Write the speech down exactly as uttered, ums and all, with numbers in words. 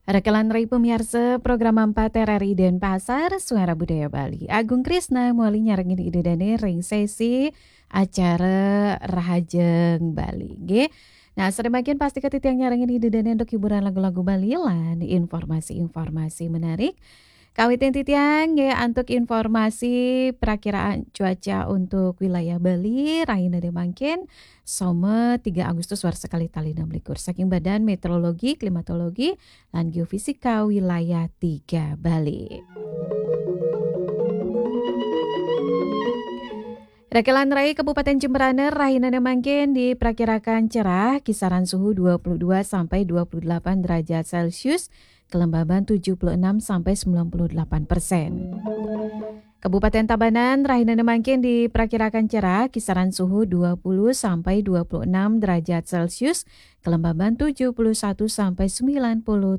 Rekelan rai pemiarsa program empat R R I Denpasar, Suara Budaya Bali. Agung Krisna mawali nyarengin Ida Dane ring sesi acara Rahajeng Bali. Nggih. Nah, sare mangkin pastika titiang nyarengin Ida Dane antuk hiburan lagu-lagu Bali lan informasi-informasi menarik. Kawitin titiang nggih antuk informasi perakiraan cuaca untuk wilayah Bali, rahinane mangkin, Soma tiga Agustus warsa kalih tali enam likur. Saking Badan Meteorologi, Klimatologi, lan Geofisika Wilayah tiga Bali. Rekelan rai Kabupaten Jembrana rahinane mangkin diperkirakan cerah, kisaran suhu dua puluh dua sampai dua puluh delapan derajat Celcius, kelembaban tujuh puluh enam sampai sembilan puluh delapan persen. Kabupaten Tabanan rahinane mangkin diperkirakan cerah, kisaran suhu dua puluh sampai dua puluh enam derajat Celcius, kelembaban tujuh puluh satu sampai sembilan puluh